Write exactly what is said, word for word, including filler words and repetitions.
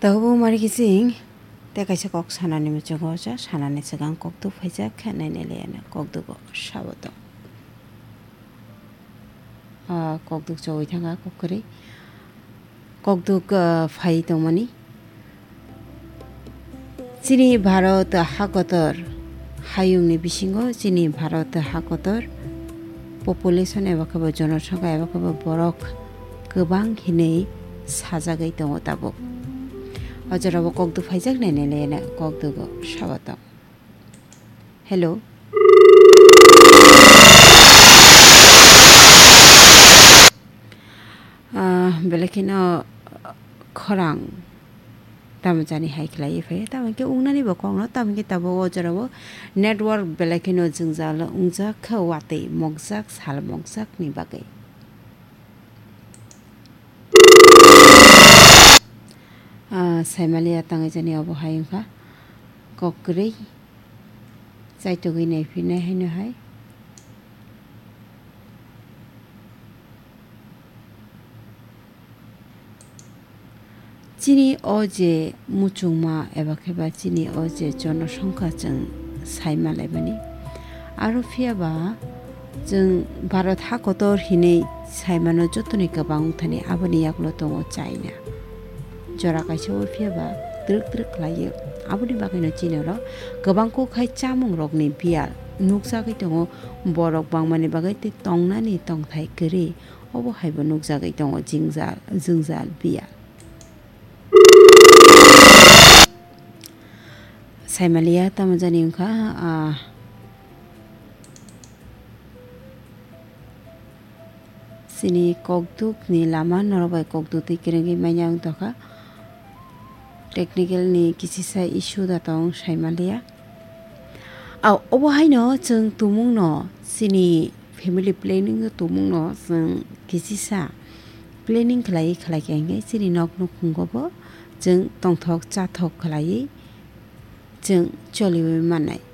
Tabuk mari kiching tei kaisa kok sanani muchungo ocha sanani swkang kokduk phaijak khe nainai laiya kokdugo sabo tong. Ah, kokduk chogwi thangkha kok kwrwi. Kokduk, ah, phai tongmani. Chini Bharat hakotor hayungni bisingo chini Bharat hakotor population eba khe bo jonosongkha eba khe bo borok kwbang hinwi sajagwi tongo tabuk. O jorao kokduk phaijak nainai laiya kokdugo sabo tong. Hello. Ah, belai kheno khorang tamo jani hai khlaiwi phaio, tamo khe wngnani bo kokno, tamo khe tabuk o jorao network belai kheno jwngjal wngjak kha, watwi mokjak, sal mokjakni bagwi. Ah, saimaliya tangwi jani obo hai wngkha kok kwrwi. Chaitugwi naiphinai haino hai. Chini o je muchungma eba khe ba chini o je jonosongkha chwng saima laimani. Aro phiya ba chwng Bharat hakotor hinwi saimano jotoni kwbang wngthani aboni yagulo tongo China. Jora kaisa o phiya ba twrwk twrwk khlaiwi. Aboni bagwino chini oro kwbang kok hai chamungrokni biyal nukjagwi tongo, borok bangmani bagwi tei tongnani tongthai kwrwi. Obo hai bo nukjagwi tongo jwngjal, jwngjal biyal. Saimaliya tamo jani wngkha, ah, chini kokdukni lama norok bai kokduk twi kwrwngwi manya wng tongkha. Technical ni kisisa issue da tong saimaliya. Au, obo haino chwng tumungno chini family planning no tumungno chwng kisisa planning khlaiwi khlaikha hinkhe chini nok nukhungo bo chwng tongthok chathok khlaiwi chwng choliwi mannai.